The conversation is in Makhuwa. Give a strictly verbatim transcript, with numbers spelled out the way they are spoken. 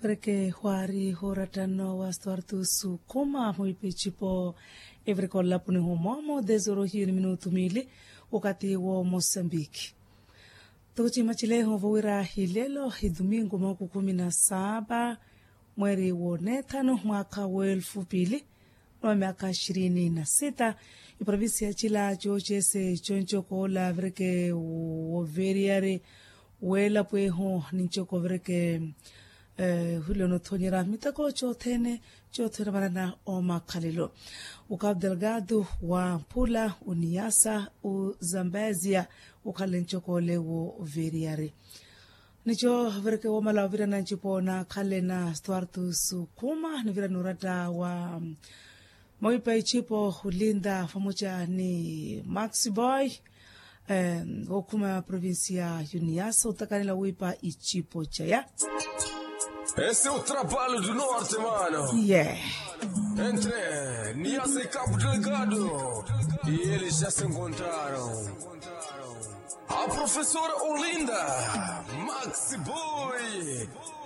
Vereke hwaari hooratta nno wa stuartus khuma mwiipa ecipo. Evereke olapuni humoomo desorohiyo ni minutu miili. Wakati wo mosambiki toko ciima cileho vowira hilelo hidumingu mahuku khumi na saapa mweeri woneethanu mwaakha weelfu piili. Nwa myaakha ishirini na sita. Iprovincia cila cooceese concokoola vereke woveriyari weelapweeho nincoko vereke hule onothonyera miteko cothene cothene marana omakhalelo. Ukapu delgado wa mpula uniyasa uzambezia ukhalele ncokole wo veriyari. Nico vereke womala ovirana ncipo nakhale na stuartus khuma nivira noratta wa mwiipa icipo hulinda vamoca ni max boy. Wokhuma provincia uniyaso otakanela wiipa icipo caya. Ese utrapalo du norte mano ye entre niyaso ikapu delgado. Iyeli xa se encontraron a profesora olinda max boy.